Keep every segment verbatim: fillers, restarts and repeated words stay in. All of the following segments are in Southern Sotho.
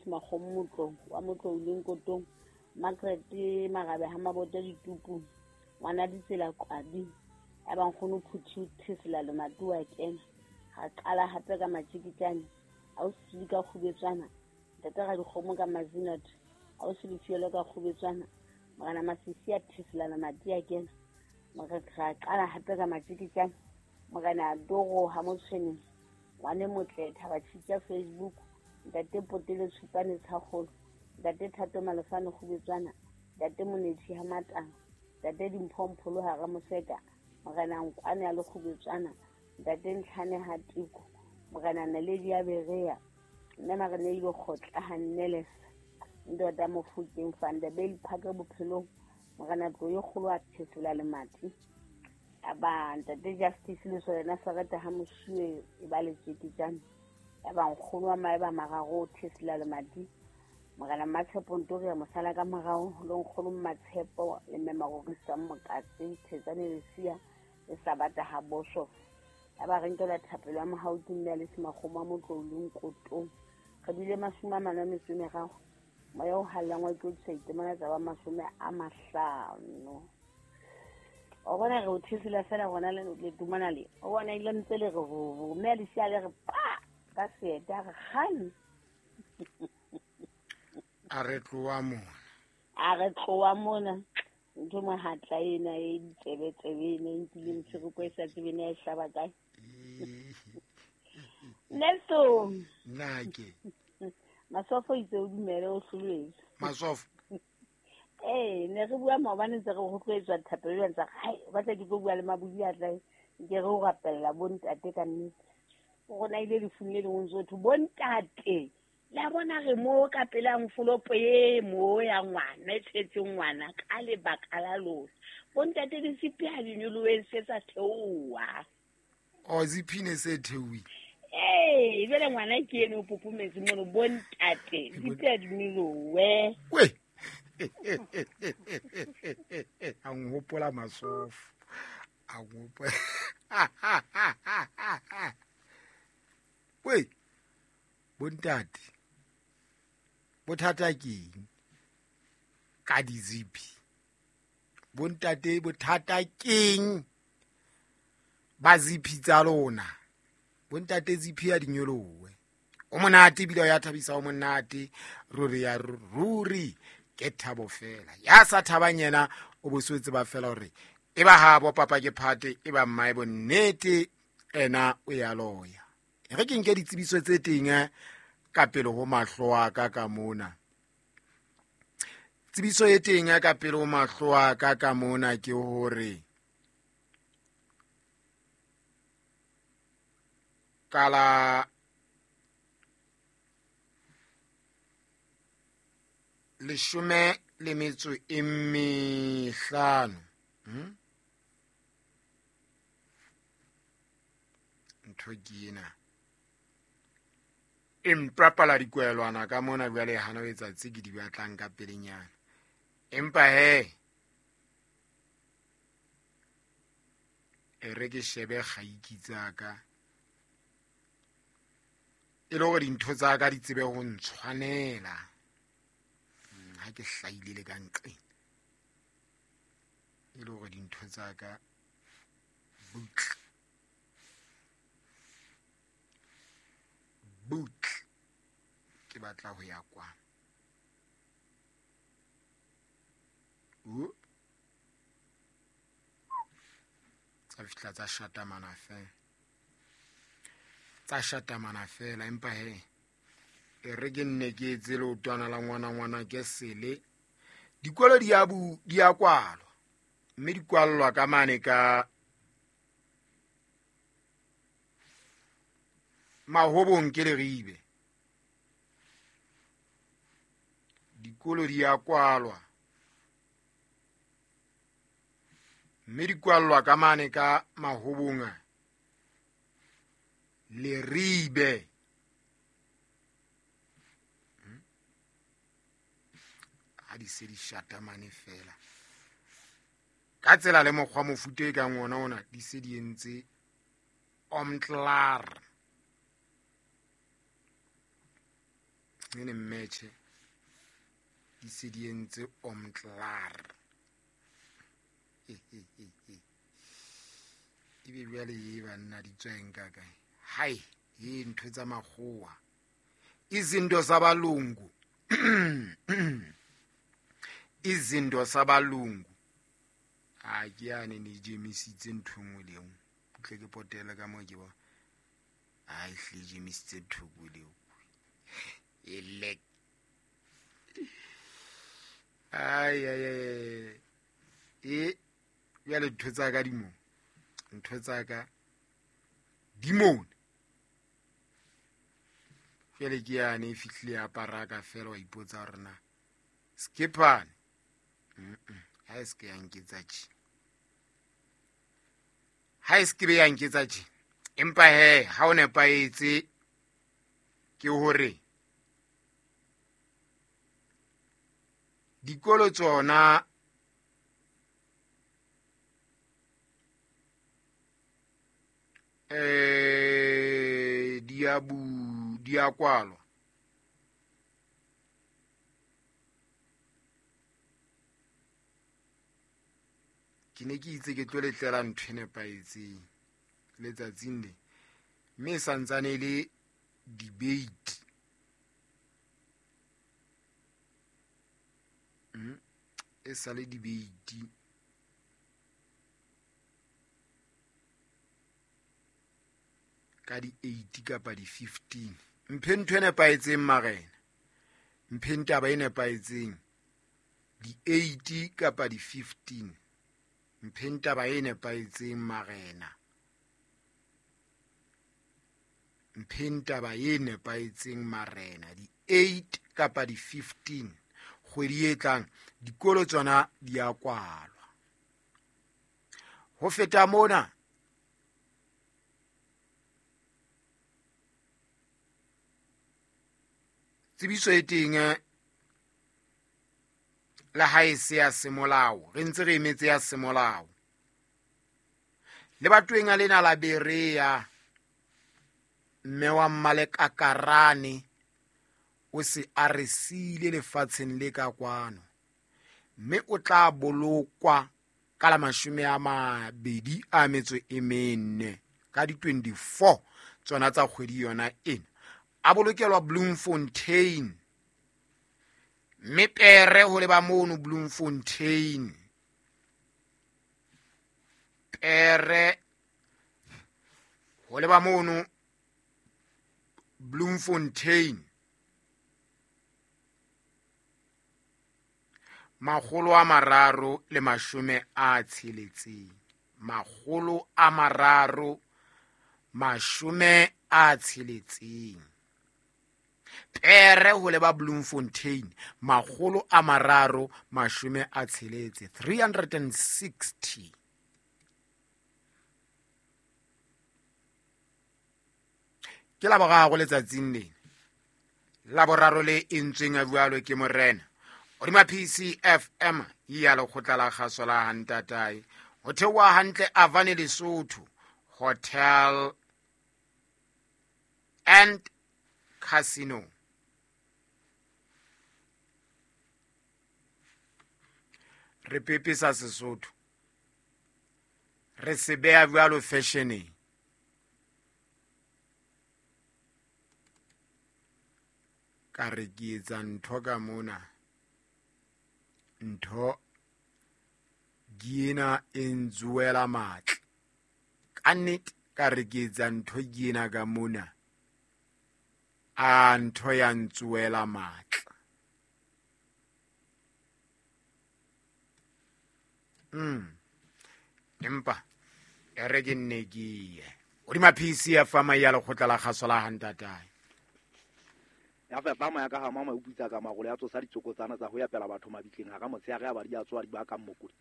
Makgomo Motlong wa Motlong le Nkotong Margaret Marabe ha Mabota ditupu ngwana ditsela Qwabi ya ba nkgono Phuthi thesela le matuwa kena ha qala hape ka matjikitjane a o se ka kgubetswana ntate ga dikgomo ka mazinat a o se lefielo ka kgubetswana morena Masisi a thesela le mati a kena morena qala hape ka matjikitjane morena Doro ha Motshweneng ngwane motle Thaba Tshitja Facebook ntate Potele Tshupane Tshakgolo ntate Thato Malefane kgubetswana ntate Monethi ha Matang ntate Dimpho Mpholo ha Ramoseka morena Nkwane a le kgubetswana ntate Ntlhane ha Tiko morena Naledi ya Berea nna marena ile kgotla ha Nnelesa ndoda Mofokeng van der Bell Park bophelong morena Tlo e kgolo a thesela le mati aba ntate Justice le sona Sarata ha Mosuwe e ba le tjeketjane ya ba nkgono wa maeba mararo thesela le mati morena Matshepo Ntori ya mosala ka morao le nkgono Matshepo le mme Marorisa Mokatse Thetsane Lesia le Sabata ha Bosho ya ba re nkela thapelo ya mohau ke mme le Semakgomo Motlong le Nkotong re bile mashome a mane a metso e meraro moya o hallang wa ke o tsa itemana tsa ba mashome a mahlano o bona re o thesela fela rona le le tumana le o bona ile ntse le re vo mme le sia le re pa ka seeta re kgane a re tloa mona a re tloa mona ntho mohatla ena e ditsebe tsebe ena e nkile motshwereko e sa tsebe ne e hlaba kae Nelson nna ke Masofo itse o dumele o hloletswe Masofo eh ne re bua maobane ntse re go tloetswa thapelo jwang tsa hai o batla ke tlo bua le mabodi a tla ke re o rapella bontate ka nnete o rona ile lefung le lengwe ntse ho bontate la bona re mo ka pela mfolopo e mo ya ngwana e tshetseng ngwana ka lebaka la lona bontate di sipi ha di nyolohe se tsa theoha o ziphine se theohile eh jwale ngwana ke ene o popometse mono bontate zipi ha di nyolohe we a nhopola Masofo a nhopola we bontate bothata keng ka dizipi bontate bothata keng ba zipi tsa lona bontate zipi ya dinyolowe o monate ebile ya thabisa o monate ruri ya ruri ke thabo fela ya sa thabang yena o boswetse ba fela hore e ba habo papa ke phate e ba mmae bonnete ena o ya loya re ke nke ditsebiso tse teng ka pele ho mahlo a ka ka mona tsebiso e teng ka pele ho mahlo a ka ka mona ke hore kala leshome le metso e mehlano hmm? Ntho ke ena e mpapala dikwelwana ka mona jwale hana o etsa tse ke di batlang ka pelenyana empa he e re ke shebe kgaiki tsaka e le hore dintho tsa ka di tsebe ho ntshwanela ha ke hlaile le ka nqeng e le hore dintho tsa ka butle butle ke batla ho ya kwa o tsa fihla tsa shatamana fela tsa shatamana fela empa he e re ke nne ke etse leotwana la ngwana ngwana ke sele dikolo di a bu di a kwalwa mme di kwallwa ka mane ka Mahobong ke Leribe dikolo di a kwalwa mme di kwallwa ka mane ka Mahobong Leribe ha di se di shatamane fela ka tsela le mokgwa mofuta e kang ona ona di se di entse omtlar Nene mmetjhe di se di entse omtlar. Ebe jwale e banna di tsweng ka kae? Hai, e ntho tsa makgowa. Izinto zabalungu. Izinto zabalungu. Ha ke yane ne jemisitse ntho nngwe le nngwe. Tle ke potele ka mo ke bona. Ha e hle jemisitse ntho nngwe le nngwe. Elek. Ai ai ai. E jwale ntho tsa ka di mo. Ntho tsa ka di mona. Jwale ke yane e fihlile ya paraka fela wa ipotsa hore na skipane. Mm. Ha e se ke ya nketsa tje. Ha e se ke be ya nketsa tje. Empa he ha o nepahetse ke hore dikolo tsona eh di a bu di a kwalwa. Ke ne ke itse ke tlo letlela ntho e nepahetseng letsatsing le, mme e santsane e le debate. Mm, e sa le debate. Ka di eight kapa di fifteen. Mphe ntho e nepahetseng marena. Mphe taba e nepahetseng. Di eight kapa di fifteen. Mphe taba e nepahetseng marena. Mphe taba e nepahetseng marena. Di eight kapa di fifteen. Kgwedi e tlang dikolo tsona di a kwalwa. Ho feta mona tsebiso e teng le ha e se ya semolao, re ntse re emetse ya semolao. Le batweng a lena la Berea, mme wa Mmalekakarane o se a re siile lefatsheng le ka kwano, mme o tla bolokwa ka la mashome a mabedi a metso e mene ka di twenty-four tsona tsa kgwedi yona ena. A bolokelwa Bloemfontein, mme pere ho leba mono Bloemfontein. Pere ho leba mono Bloemfontein. Makgolo a mararo le mashome a tsheletseng. Makgolo a mararo mashome a tsheletseng. Pere ho leba Bloemfontein makgolo a mararo mashome a tsheletse, three hundred and sixty. Ke la boraro letsatsing lena. La boraro le entsweng a jwalo ke morena. Hodima P C F M ya lekgotla la kgaso la Hantatae. Ho theoha hantle Avane Lesotho Hotel and Casino. Re pepesa Sesotho. Re se beha jwalo fashioneng. Ka re ke etsa ntho ka mona. Ntho ke ena e ntsuela matla. Ka nnete ka re ke etsa ntho ke ena ka mona. A ntho ya ntsuela matla. Mm. Empa e re ke nne ke ye. Hodima P C F M ya lekgotla la kgaso la Hantatae. Ya fepa moya ka ha mama o putsa ka magolo ya tsosa ditsokotsana tsa ho ya pela batho mabitleng ha ka motshehare a ba di a tswa di ba ka mmokodi.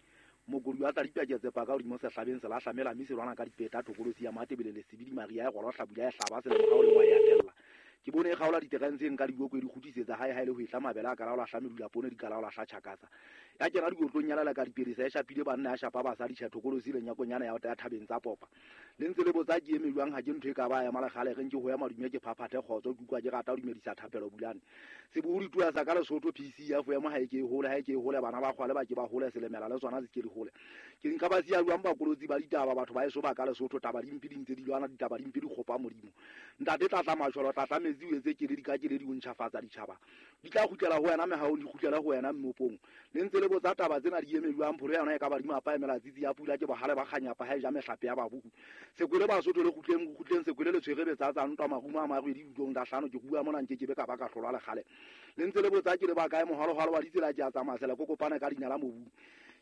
Mokodi wa tla dipaketse pa ka hodimo sehlabeng se la hlamela mme se lwana ka dipeta thokolosi ya Matebele le Sebidi Maria ya goro hlabula ya hlaba se le morao le ngwa ya tella. Ke bone e kgaola diterene tse nka diboko e di kgutlisetsa hae hae le ho etla mabele a kalaola hla medula poone di kalaola hla tjhakasa. Ya kena dikotlong ya leleka diperesa e shapile banna ya shapa basadi tjhethokolosi le nyakonyana ya ya thabeng tsa popa. Le ntse le botsa ke eme jwang ha ke ntho e ka ba ya malekgale re nke ho ya madume ke phaphathe kgotso ke utlwa ke rata ho dumedisa thapelo bulane. Sebohodi tua sa ka Lesotho P C ya fo ema ha e ke e hole ha e ke e hole bana ba kgwale ba ke ba hole selemela le tsona se ke di hole. Ke nka ba siya jwang bakolotsi ba ditaba batho ba eso ba ka Lesotho taba dimpe di ntse di lwana ditaba dimpe di kgopa modimo. Ntate tlatla majolo tlatla metsi o etse ke le di ka ke le di o ntjhafatsa ditjhaba. Di tla kgutlela ho wena mehaong di kgutlela ho wena mmopong. Le ntse le botsa taba tsena di eme jwang pholo yona e ka ba di mapa emela tsitsi ya pula ke bohale ba kganyapa ha e ja mehlape ya babuku. Sekwele Basotho le kgutleng kgutleng sekwele le tshwere betsa tsa ntwa marumo a marwedi ditlong da hlano ke bua mona nke ke be ka ba ka hlolwa lekgale. Le ntse le botsa ke le ba kae mohalohalo wa ditsela ke a tsamaya sela kokopana ka dinyala mobu.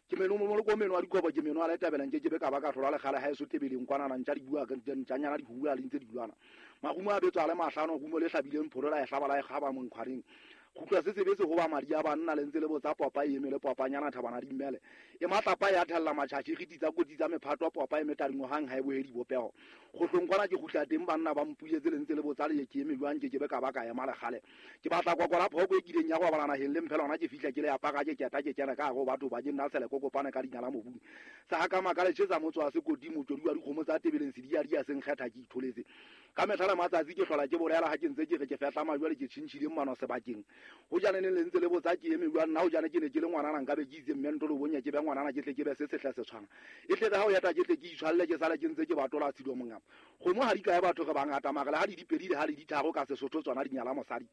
Ke meno mo ko meno a dikobo ke meno a le tabela nke ke be ka ba ka hlolwa lekgale ha e so tebeleng kwana na ntja di bua ka ntjanyana di bua le ntse di lwana. Marumo a betswa le mahlano rumo le hlabileng pholo la e hlaba la e kgaba monkgwareng. Kgutla se sebetse ho ba madi a banna le ntse le botsa popa e eme le popanyana thabana di mmele. E matlapa ya thella matjhatjhi re ditsa kotsi tsa mephato popa e metadingo hang ha e bohe dibopeho. Kgohlong kwana ke kgutla teng banna ba mpuletse le ntse le botsa le ke eme jwang ke ke be ka ba ka ema lekgale. Ke batla kokola phoko e kileng ya go bala naheng le mphela hona ke fihla ke le apara ke keta ke kena ka go batho ba ke nna sele kokopana ka dinyala mobung. Sa ka makale tjhetsa motso wa sekoti motswedi wa dikgomo tsa tebeleng se di ya di ya seng kgetha ke itholetse. Ka mehla le matsatsi ke hlola ke bolela ha ke ntse ke re ke fehla majwale ke tjhintjhile mmano sebakeng. Ho jane ne le ntse le botsa ke eme jwang nna ho jane ke ne ke le ngwanana nka be ke itse mme ntolo bonya ke be ngwanana ke tle ke be se sehla se tshwana. E tle ha o yata ke tle ke itshwalle ke sala ke ntse ke batola tshido mongama. Kgomo ha di kae batho re bangata mara le ha di dipedi le ha di ditharo ka Sesotho tsona di nyala mosadi.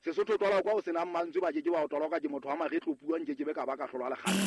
Sesotho twala kwa o senang mantswe ba ke ke wa o toloka ke motho wa maretlo puang ke ke be ka ba ka hlolwa lekgale.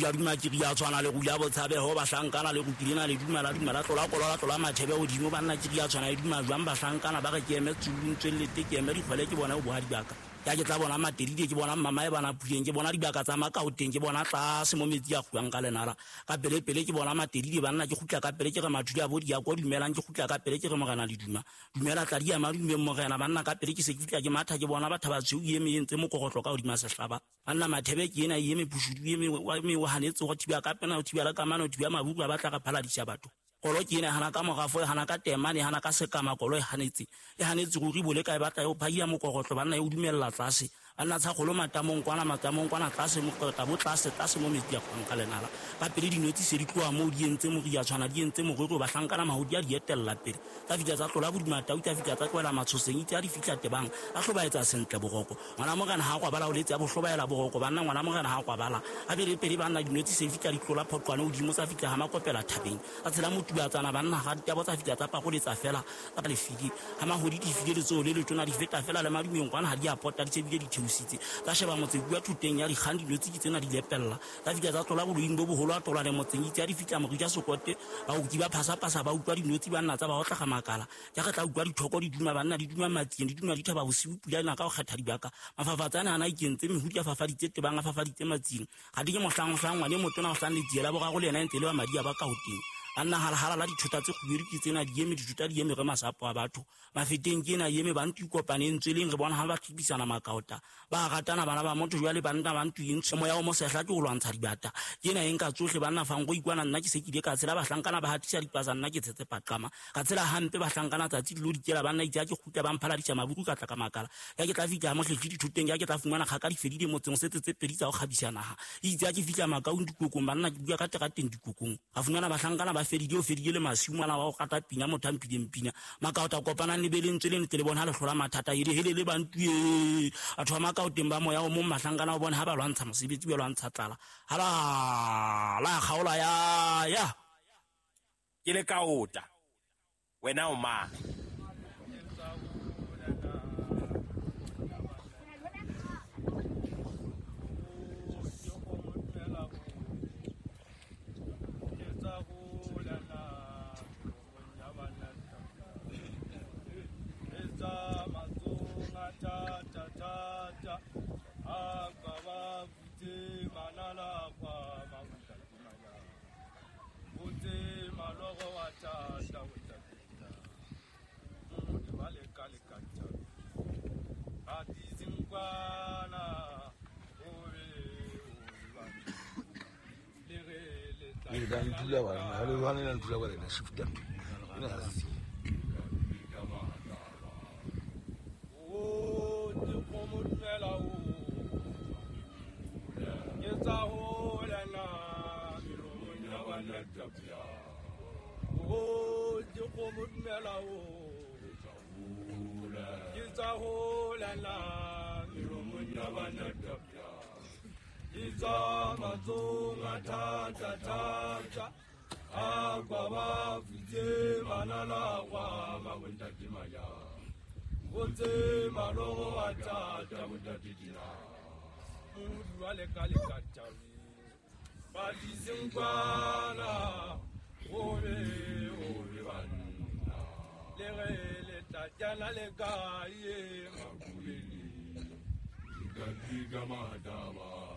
Ya duma ke ria tshwana le rula botshabeho bahlankana le rupilena le dumela dumela tlola kolola tlola mathebe hodimo banna ke ria tshwana le duma jwang bahlankana ba re ke eme tsulung tswellete ke eme dikgwele ke bona o boha dibaka. Ya ke tla bona Materidi ke bona mama e bana puleng ke bona dibaka tsa Makaoteng ke bona tlase mo metsi a kguang ka lenala ka pele pele ke bona Materidi banna ke kgutla ka pele ke re mathudi a bo di ya kwa dumelang ke kgutla ka pele ke re morena le duma dumela tla di ya madume morena banna ka pele ke se ke fihla ke matha ke bona batho ba tshweu eme entse mokogotlo ka hodima sehlaba banna mathebe ke ena eme pushudu eme eme wa hanetse go thiba ka pena o thiba la kamano o thiba mabuku ba batla ka phaladisa batho. Kolo ke ena hana ka morafo e hana ka temane hana ka sekama kolo e hanetse e hanetse ruri bole ka e batla e phaia mokogotlo banna e o dumella tlase banna tsa kgolo matamong kwana matamong kwana tlase mokota bo tlase tlase mo metsi a kgwang ka lenala ka pele dinotsi se di tloha moo di entse moria tshwana di entse morero bahlankana mahodi a di etella pele tsa fihla tsa tlola bodima tau tsa fihla tsa tlohela matshoseng itse a di fihla tebang a hlobaetsa sentle boroko ngwana morena ha kwa bala o letse a bohlobaela boroko banna ngwana morena ha kwa bala a bele pele banna dinotsi se fihla di tlola phoqwane hodimo tsa fihla ha makopela thabeng a tshela motuba tsana banna ga ditabo tsa fihla tsa pakoletsa fela tsa lefiki ha mahodi di file letsoho le letona di feta fela le madumeng kwana ha di a pota di tsebile di theositse tsa sheba motse bua thuteng ya dikgang dinotsi ke tsena di lepella tsa fihla tsa tlola boloing bo boholo a tlola le motseng itse a di fihla morija sokote baoki ba phasapasa ba utlwa dinotsi banna tsa ba otla ga makala ja re tla utlwa dithoko di duma banna di duma matsieng di duma dithaba bosiu pula ena ka ho kgetha dibaka mafafatsane ana ikentse mehudi a fafaditse tebang a fafaditse matsieng ga di ke mohlang mohlang ngwane motona o hlang letsiela boraro le yena e ntse le ba madi a ba ka hoteng banna halahala la dithota tse kgubedu ke tsena di eme dithota di eme re masapo a batho mafeteng ke ena eme ba ntwe kopaneng tsweleng re bona ha ba tlibisana makaota ba ratana bana ba motho jwale banna ba ntwe eng moya o mosehla ke ho lwantsha dibata ke ena eng ka tsohle banna fang go ikwana nna ke se ke ile ka tshela bahlankana ba hatisa dipasa nna ke tshetse paqama ka tshela hampe bahlankana tsatsi dilo dikela banna itse ke kgutla ba mphaladisa mabuku ka tla ka makala ya ke tla fihla mohlehle dithoteng ya ke tla fumana kgaka di fedile motseng setse tse pedi tsa ho kgabisa naha itse ke fihla makaong dikokong banna ke bua ka terateng dikokong ga fumana bahlankana ba fedile o fedile le masiu ngwana wa go kata pina motho a mphileng pina makaota kopanang le beleng tsweleng tle le bona le hlola mathata ele hele le bantue batho ba makaoteng ba moya o mong mahlankana o bona ha ba lwantsha mosebetsi ba lwantsha tlala hala la kgaola ya ya ke le kaota wena o mang? tswa matsong a thata-thata a kwa ba futse manala gwa mabontate majang go tse malogo a thata bontate dina modu wa leka-leka tabeng ba disengkwana gobe gobe banna le ge letatjana le kae makulele dikadika mataba.